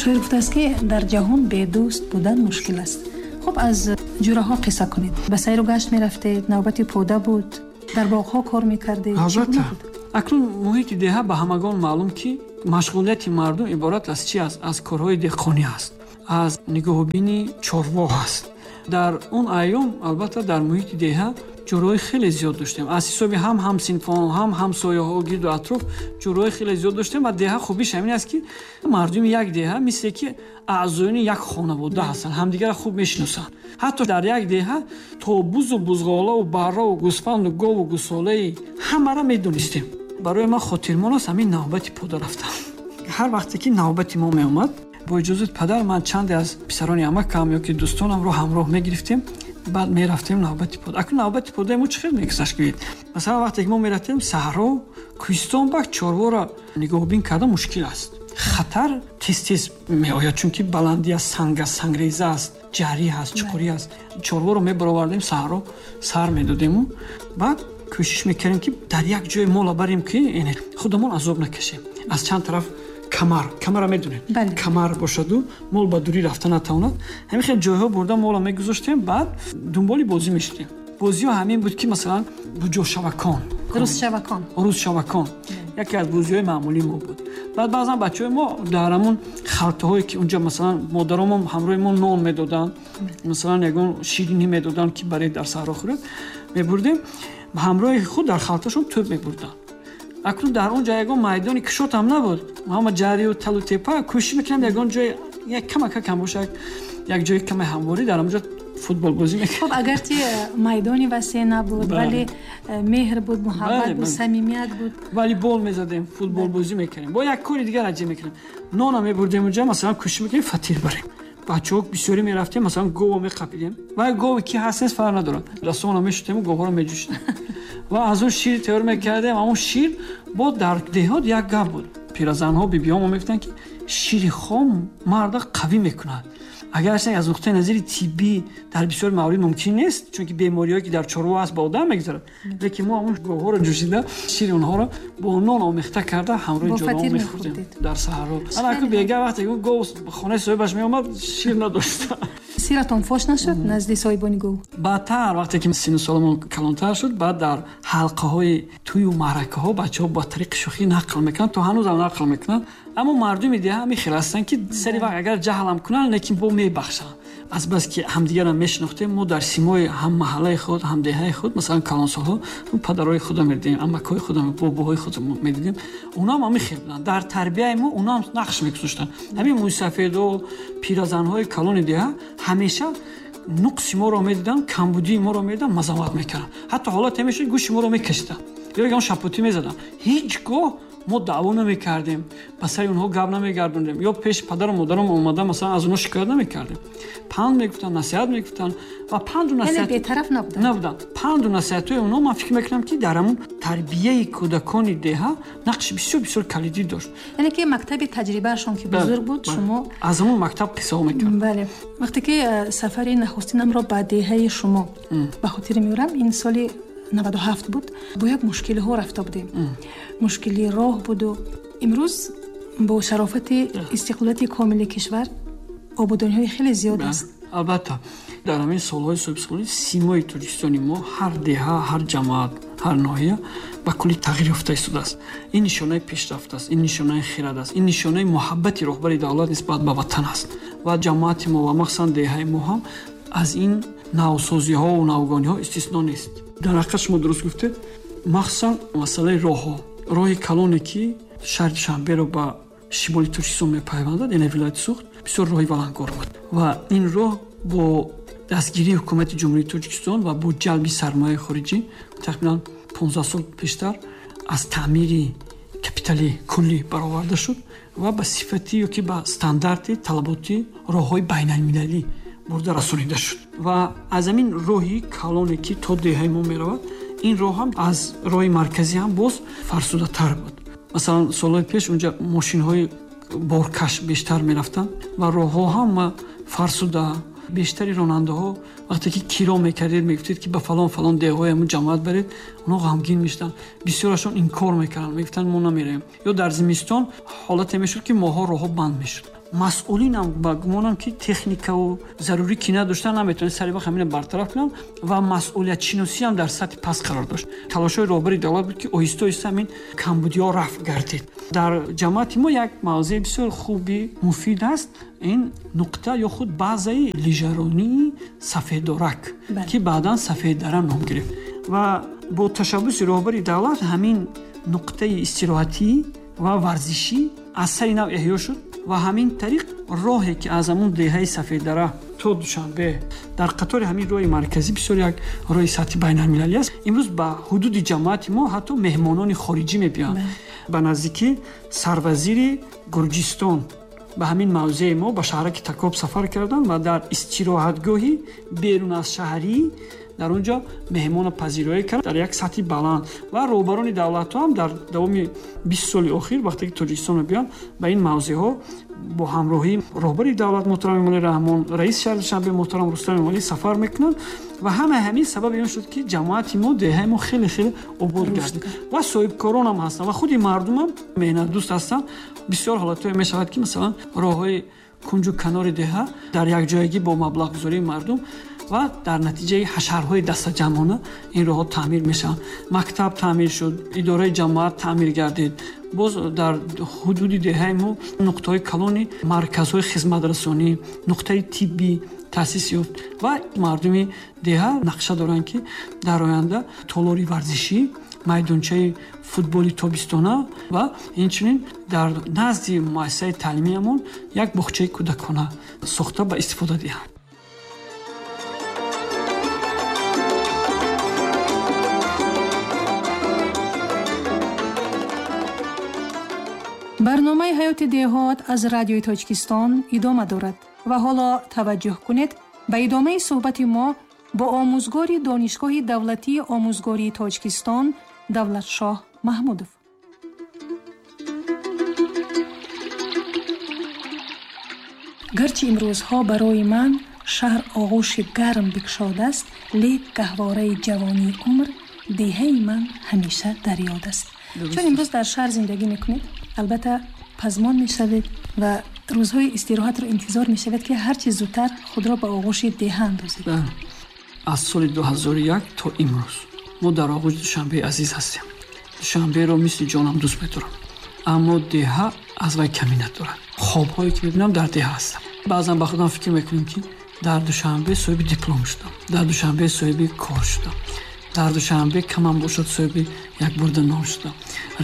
Шоир гуфтааст, ки дар ҷаҳон бедӯст будан мушкил аст. Хуб, аз ҷураҳо қисса кунед. Ба сайру гашт мерафтед, навбати пода буд, дар боғҳо кор мекардед. Албатта. Акнун муҳити деҳа ба ҳамагон маълум, ки машғулияти мардум иборат аз чӣ аст? Аз корҳои деҳқонӣ аст, аз нигоҳубини чорво аст. Дар он айём, албатта, дар муҳити деҳа ҷӯраҳои хеле зиёд доштем. Аз ҳисоби ҳам ҳамсинфон, ҳам ҳамсояҳо, гирду атроф ҷӯраҳои хеле зиёд доштем. Ва деҳа хубиш ҳамин аст, ки мардуми як деҳа мисле ки аъзоёни як хонавода ҳастанд, ҳамдигарро хуб мешиносанд. Ҳатто дар як деҳа то бузу бузғолаву барраву гӯсфанду гову гӯсолаи ҳамаро медонистем. Барои ман хотирмон аст ҳамин навбати пода рафтан. Ҳар вақте ки навбати мо меомад, бо иҷозати падар ман чанде аз писарони амакам ё ки дӯстонамро ҳамроҳ мегирифтем, баъд мерафтем навбати пода. Акнун навбати подаи мо чӣ хел мегузашт, гӯед? Масалан, вақте ки мо мерафтем саҳро, кӯҳистон, бак чорворо нигоҳубин кардан мушкил аст, хатар тез тез меояд, чунки баландӣ аст, санг аст, сангреза аст, ҷарӣ ҳаст, чуқурӣ аст. Чорворо мебаровардем саҳро, сар медодему баъд кӯшиш мекардем, ки дар як ҷое мола барем, ки худамон азоб накашем. Аз чанд тараф камар, камара медонем, камар бошаду мол ба дурӣ рафта натавонад. Ҳамин хел ҷойҳо бурда мола мегузоштем, баъд дунболи бозӣ мешудем. Бозиҳо ҳамин буд, ки масалан буҷошавакон, рӯзшавакон, рӯзшавакон яке аз бозиҳои маъмулии мо буд. Баъд баъзан бачаҳои мо дар ҳамон халтаҳое, ки унҷа масалан модаромон ҳамроҳи мо нон медоданд, масалан ягон ширинӣ медоданд, ки барои дар саҳро хӯрд, мебурдем, ҳамроҳи худ дар халташон тӯб мебурданд. Акнун дар он ҷо ягон майдони кушод ҳам набуд, ҳама ҷарию талу тепа. Кӯшиш мекардем ягон ҷой як камака кам бошад, як ҷои каме ҳамворӣ, дар ҳамон ҷо футбол бозӣ мекардем. Хуб, агарчи майдони васеъ набуд, вале меҳр буд, муҳаббат буд, самимият буд. Волейбол мезадем, футбол бозӣ мекардем. Бо як кори дигар аҷиб мекардем, нона мебурдем унҷа, масалан кӯшиш мекардем фатир барем. Бачаҳо бисёре мерафтем, масалан гово меқапидем, ва гове ки ҳаст нест фарқ надорад, дастомона мешутему говҳоро меҷӯшидем ва аз он шир тайёр мекардем. Ҳамон шир бо дар деҳот як гап буд, пиразанҳо, бибиҳомо мегуфтанд, ки шири хом марда қавӣ мекунад. Агарчи аз нуқтаи назари тиббӣ дар бисёр маврид мумкин нест, чунки бемориҳое ки дар чорво ҳаст ба одам мегузарад, лекин мо ҳамон говҳоро ҷӯшида, шири онҳоро бо нон омехта карда ҳамроҳи ҷӯраҳо мехӯрдем дар саҳро. Ана бега вақте гов хонаи соҳибаш меомад, шир надошт. Сиратон фош нашуд назди соҳибони гов? Баъдтар, вақте ки сину соламон калонтар шуд, баъд дар ҳалқаҳои тӯю маъракаҳо бачаҳо ба тариқи шӯхӣ нақл мекунанд, то ҳанӯзам нақл мекунанд. Аммо мардуми деҳа ҳамин хел ҳастанд, ки сари вақт агар ҷаҳлам кунанд, лекин бо мебахшанд. Азбаски ҳамдигарро мешинохтем, мо дар симои ҳам маҳаллаи худ, ҳам деҳаи худ, масалан калонсолҳо, падарҳои худро медидем, амакҳои худро, бобоҳои худро медидем, онҳо ҳам ҳамин хел буданд. Дар тарбияи мо онҳо ҳам нақш мегузоштанд. Ҳамин мӯйсафедо, пиразанҳои калони деҳа ҳамеша нуқси моро медиданд, камбудии моро медиданд, мазаммат мекарданд. Ҳатто ҳолате мешуд, гӯши моро мекашиданд ё ягон шапотӣ мезаданд. Ҳеҷ гоҳ мо даъво намекардем, ба сари онҳо гап намегардондем, ё пеши падару модарам омада масалан аз онҳо шикоят намекардем. Панд мегуфтанд, насиҳат мегуфтанд ва панду насиҳат бетараф набуданд. Набуданд. Панду насиҳатҳои онҳо, ман фикр мекунам, ки дар ҳамон тарбияи кӯдакони деҳа нақши бисёр бисёр калидӣ дошт. Яъне ки мактаби таҷрибаашон ки бузург буд, шумо аз ҳамон мактаб қиссаҳо мекардед. Бале. Вақте ки сафари нахустинамро ба деҳаи шумо ба хотир меорам, ин соли 97 буд, бо як мушкилиҳо рафта будем. Мушкили роҳ буду имрӯз бо шарофати истиқлолияти комили кишвар ободониҳои хеле зиёд аст. Албатта, дар ҳамин солҳои соҳибистиқлолӣ симои Тоҷикистони мо, ҳар деҳа, ҳар ҷамоат, ҳар ноҳия ба куллӣ тағйир ёфта истодааст. Ин нишонаи пешрафт аст, ин нишонаи хирад аст, ин нишонаи муҳаббати роҳбари давлат нисбат ба ватан аст. Ва ҷамоати мо ва махсусан деҳаи мо ҳам аз ин навсозиҳову навгониҳо истисно нест. Дар ҳақиқат шумо дуруст гуфтед, махсусан масъалаи роҳҳо. Роҳи калоне, ки шаҳри Душанберо ба шимоли Тоҷикистон мепайвандад, яъне вилояти Суғд, бисёр роҳи валангор буд. Ва ин роҳ бо дастгирии ҳукумати Ҷумҳурии Тоҷикистон ва бо ҷалби сармояи хориҷӣ тақрибан 15 сол пештар аз таъмири капитали куллӣ бароварда шуд ва ба сифати ё ки ба стандарти талаботи роҳҳои байналмилалӣ бурда расонида шуд. Ва аз ҳамин роҳи калоне, ки то деҳаи мо меравад, ин роҳ ҳам аз роҳи марказӣ ҳам боз фарсудатар буд. Масалан, солҳои пеш унҷа мошинҳои боркаш бештар мерафтанд ва роҳҳо ҳама фарсуда. Бештари ронандаҳо вақте ки киро мекардед, мегуфтед, ки ба фалон фалон деҳҳои ҳамун ҷамоат баред, онҳо ғамгин мешуданд, бисёрашон инкор мекарданд, мегуфтанд мо намеравем. Ё дар зимистон ҳолате мешуд, ки моҳҳо роҳҳо банд мешуд. Масъулинам ба гумонам, ки техникаву зарурӣ ки надоштан, наметавонед сари вақт ҳамина бартараф кунанд ва масъулиятшиносиам дар сатҳи паст қарор дошт. Талошҳои роҳбари давлат буд, ки оҳиста оҳиста ҳамин камбудиҳо рафъ гардид. Дар ҷамоати мо як мавзеи бисёр хуби муфид аст, ин нуқта ё худ базаи лижаронии Сафедорак, ки баъдан Сафеддара ном гирифт, ва бо ташаббуси роҳбари давлат ҳамин нуқтаи истироҳатӣ ва варзишӣ аз сари нав эҳё шуд ва ҳамин тариқ роҳе, ки аз ҳамун деҳаи Сафеддара то Душанбе дар қатори ҳамин роҳи марказӣ, бисёр як роҳи сатҳи байналмилалӣ аст, имрӯз ба ҳудуди ҷамоати мо ҳатто меҳмонони хориҷӣ мебиёянд. Ба наздикӣ сарвазири Гурҷистон ба ҳамин мавзеи мо, ба шаҳраки Такоб сафар карданд ва дар истироҳатгоҳи берун аз шаҳрӣ дар он ҷо меҳмона пазироӣ кард дар як сатҳи баланд. Ва роҳбарони давлатҳо ҳам дар давоми 20 соли охир, вақте ки Тоҷикистон мебиёянд, ба ин мавзеъҳо бо ҳамроҳии роҳбари давлат муҳтарам Эмомалӣ Раҳмон, раиси шаҳри Душанбе муҳтарам Рустам Эмомалӣ сафар мекунанд ва ҳамаи ҳамин сабаби он шуд, ки ҷамоати мо, деҳаи мо хеле хеле обод гардид ва соҳибкорон ҳам ҳастанд ва худи мардумам меҳнатдӯст ҳастанд. Бисёр ҳолатҳое мешавад, ки масалан роҳҳои кунҷу канори деҳа дар якҷоягӣ бо маблағгузории мардум ва дар натиҷаи ҳашарҳои дастаҷамъона ин роҳҳо таъмир мешаванд. Мактаб таъмир шуд, идораи ҷамоат таъмир гардид. Боз дар ҳудуди деҳаи мо нуқтаҳои калони марказҳои хизматрасонӣ, нуқтаи тиббӣ таъсис ёфт ва мардуми деҳа нақша доранд, ки дар оянда толори варзишӣ, майдончаи футболи тобистона ва инчунин дар назди муассисаи таълимиамон як боғчаи кӯдакона сохта ба истифода диҳанд. Барномаи «Ҳаёти деҳот» аз Радиои Тоҷикистон идома дорад ва ҳоло таваҷҷӯҳ кунед ба идомаи суҳбати мо бо омӯзгори Донишгоҳи давлатии омӯзгории Тоҷикистон Давлатшоҳ Маҳмудов. Гарчи имрӯзҳо барои ман шаҳр оғӯши гарм бикшодааст, лек гаҳвораи ҷавонии умр деҳаи ман ҳамеша дар ёд аст. Чун имрӯз дар шаҳр зиндагӣ мекунед, албатта пазмон мешавед ва рӯзҳои истироҳатро интизор мешавед, ки ҳарчи зудтар худро ба оғӯши деҳа андозед. Аз соли 2001 то имрӯз мо дар оғӯши Душанбеи азиз ҳастем. Душанберо мисли ҷонам дӯст медорам, аммо деҳа аз вай камӣ надорад. Хобҳое ки мебинам, дар деҳа ҳастам. Баъзан ба худам фикр мекунем, ки дар Душанбе соҳиби диплом шудам, дар Душанбе соҳиби кор шудам, дар Душанбе камам бошад соҳиби як бурда нон шудам,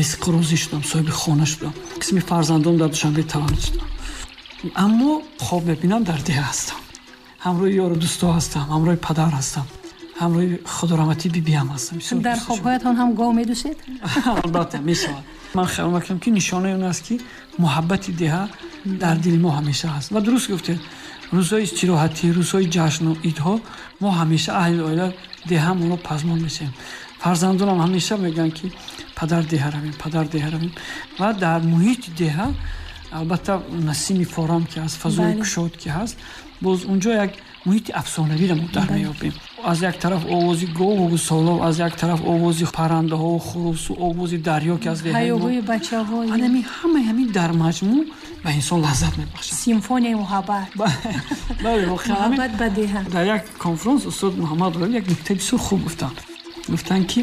ризқу рӯзӣ шудам, соҳиби хона шудам, қисми фарзандом дар Душанбе таваллуд шудам, аммо хоб мебинам, дар деҳа ҳастам, ҳамроҳи ёру дӯстҳо ҳастам, ҳамроҳи падар ҳастам, ҳамроҳи худораҳматӣ бибиам ҳастам. Дар хобҳоятон ҳам гов медӯшед? Албатта мешавад. Ман хаёл мекунам, ки нишонаи он аст, ки муҳаббати деҳа дар дили мо ҳамеша ҳаст. Ва дуруст гуфтед, рӯзҳои истироҳатӣ, рӯзҳои ҷашну идҳо мо ҳамеша аҳли оила деҳамонро пазмон мешавем. Фарзандонам ҳамеша мегӯянд, ки падар, деҳа равем, падар, деҳа равем. Ва дар муҳити деҳа албатта насими форам ки ҳаст, фазои кушод ки ҳаст, боз унҷо як муҳити афсонавиро мо дар меёбем. Аз як тараф овози гову гусолов, аз як тараф овози паррандаҳо, хурусу, овози дарё, ки аз деҳаи мо, ҳаёҳои бачаҳо, ҳамин ҳамаи ҳамин дар маҷмӯъ ба инсон лаззат мебахшад. Симфонияи муҳаббат. Бале, воқеан ҳамин. Муҳаббат ба деҳа. Дар як конфронс устод Муҳаммад Ғолиб як нуктаи бисёр хуб гуфтанд. Гуфтанд, ки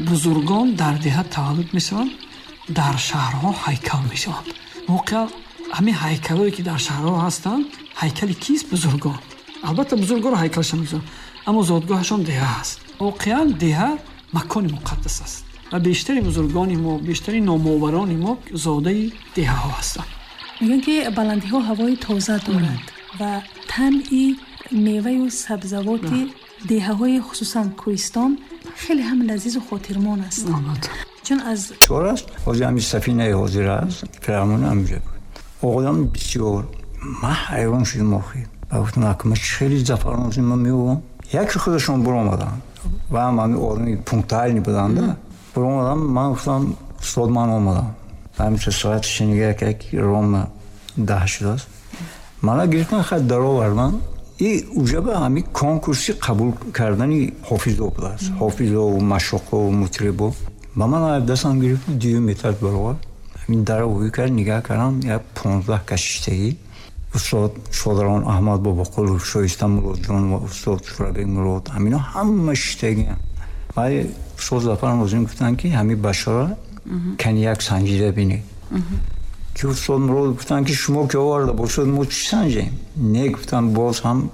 бузургон дар деҳа таваллуд мешаванд, дар шаҳрҳо ҳайкал мешаванд. Воқеан ҳамин ҳайкалҳое, ки дар шаҳрҳо ҳастанд, ҳайкали кист? Бузургон. Албатта бузургонро ҳайкалашон мегузоранд, аммо зодгоҳашон деҳа аст. Воқеан деҳа макони муқаддас аст ва бештари бузургони мо, бештари номоварони мо зодаи деҳаҳо ҳастанд. Мегӯянд, ки баландиҳо ҳавои тоза доранд ва тамъи меваю сабзавоти деҳаҳои хусусан кӯҳистон хеле ҳам лазизу хотирмон аст. Чун аз чор аст, ҳозир ҳамин сафинаи ҳозир аст, фиръавн ҳаминҷо буд. Оғодам бисёр, ман ҳайрон шудам охир. Ва гуфтам, ма хеле зафарон шудам, ман меовам. Яке худашон буромаданд ва ҳам ҳамин одами пунктуальный буданда буромадам. Ман гуфтам, устод, ман омадам. Ҳаминча соат шинига як рома 10 шудааст. Мана гирифтан, хай даровардан. И уже ба ҳамин конкурси қабул кардани ҳофизо будааст, ҳофизову машоқову мутрибо. Ба ман дастам гирифт, дуюм этаж баровард. Ҳамин дара ҳуй кард, нигаҳ кардам, як 15 кашиштагӣ. Устод Шодарон Аҳмад Бобоқулов, Шоиста Муродҷон ва устод Шурабек Мурод, ҳамино ҳама шиштагиам. Вале устод Зафар Нозим гуфтанд, ки ҳамин бачаро кани як санҷида бинед, ки устод Мурод гуфтанд, ки шумо ки оварда бошад, мо чӣ санҷем? Не, гуфтанд, боз ҳам.